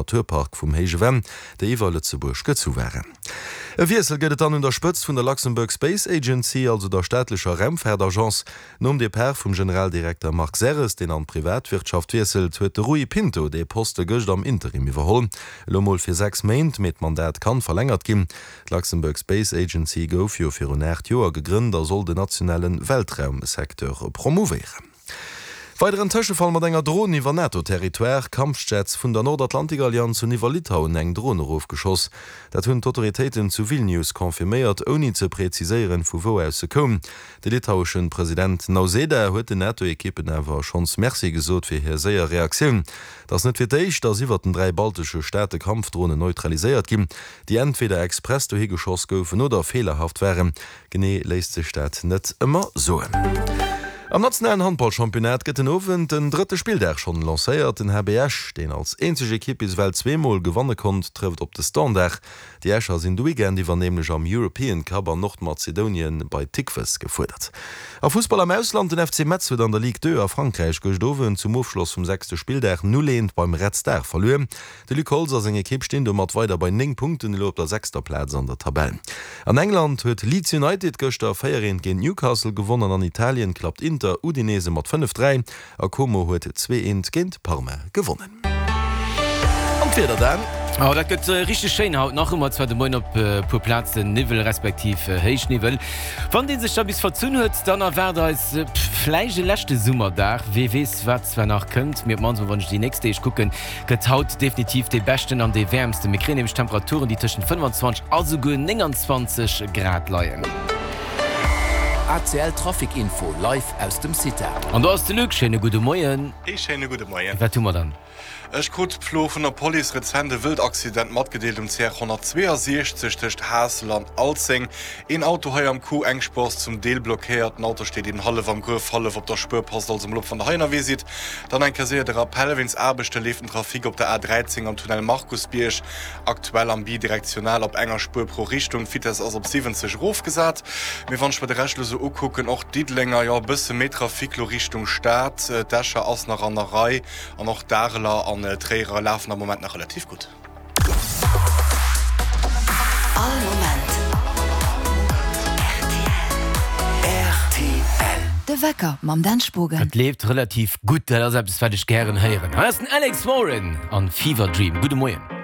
Naturpark vum Héije Venn, déi iwwer Lëtzebuerg gezu waren. E Wiessel gëtt et dann un der Spëtzt vun der Luxembourg Space Agency, also der staatlecher Raumfaartagence. Nom Depart vum Generaldirekter Marc Serres, deen an d'Privatwirtschaft wiesselt, huet de Rui Pinto dee Poste gëscht am Interim iwwerholl. Elo mol fir 6 Méint, mee d'Mandat kann verlängert ginn. D'Luxembourg Space Agency gouf jo virun 8 Joer gegrënnt a soll den nationale Weltraumsecteur promouvéieren. Weideren Tëschefall mat enger Dron iwwer NATO-Territoire, Kampfjets vun der Nordatlantikallianz hunn iwwer Litauen eng Dron erofgeschoss. Dat hunn d'Autoritéiten zu Vilnius confirméiert, ouni ze preziséieren, vu wou aus se koum. De litaueschen President Nauseda huet den NATO-Ekippen awer schonns Merci gesot fir hir séier Reaktioun. Et ass net fir d'éischt, datt iwwer den 3 baltesche Staate Kampfdronen neutraliséiert ginn, déi entweder express dohi geschoss goufen oder feelerhaft waren. Genee léisst sech dat net ëmmer soen. Am nationalen Handballchampionnat gëtt den Owend den drëtte Spilldag schonn lancéiert. Den HB Esch, deen als eenzeg Ekipp bis ewell zweemol gewanne konnt, trëfft op de Standard. Déi Escher sinn de Weekend iwwer nämlech am European Cup an Nordmazedonien bei Tikves gefuerdert. A Fussball am Ausland, Den FC Metz huet an der Ligue 2 a Frankräich gëscht Owend zum Ofschloss vum sechste Spilldag 0, 1 beim Red Star verluer. De Luc Holtz a seng Ekipp stinn domat weider bei 9 Punkten, elo op der sechster Plaz an der Tabell. An England huet Leeds United gëschter 4, 1 géint Newcastle gewonn an an Italien klappt Inter Udinese mat 5, 3 a Como huet 2, 1 géint Parma gewonnen. An d'Wieder dann? Oh, dat gëtt richteg schéin haut. Nach hu mer zwar de Moien op e puer Plazen Niwwel respektiv Héichniwwel. Wann dee sech da bis verzunn huet, dann erwaart eis vläicht e leschte Summerdag. Wee weess, wat zwar nach kënnt, mee op d'mannst mol wann ech déi nächst Deeg kucken, Gëtt haut definitiv dee beschten an dee wäermsten. Mir kréien nämlech Temperaturen, déi tëschent 25 a souguer 29 Grad leien. ACL Trafic Info live aus dem CITA. An do ass de Luc. Schéine gudde Moien. Ee schéine gudde Moien. Wat hu mer dann? Ech krut plo vun der Police rezent e Wëldaccident matgedeelt um CR 162 tëscht Haassel an Alzeng. Een Auto hei am Coup, eng Spuer ass zum Deel blockéiert. Den Auto steet eben hallef am Gruef, hallef op der Spuer. Passt also mol op wann der hei ënnerwee sidd. Dann eng Kéier séier de Rappel, Wéinst Aarbechte leeft den Trafic op der A13 am Tunnel Markusbierg aktuell am bidirektional op enger Spuer pro Richtung. D'Vitess ass op 70 erofgesat. Mee wann ech mer de Rescht elo sou ukucken, och Diddelenger, jo e bësse méi Trafic lo Richtung Stad. D'Escher ass nach an der Rei an och d'Areler an d'Tréierer lafen am Moment nach relativ gutt. All Moment rtl. De Wecker mam Dan Spogen. Et leeft relativ gutt, dat ass eppes wat ech gären héieren. Hei ass den Alex Warren an Fever Dream. Gudde Moien.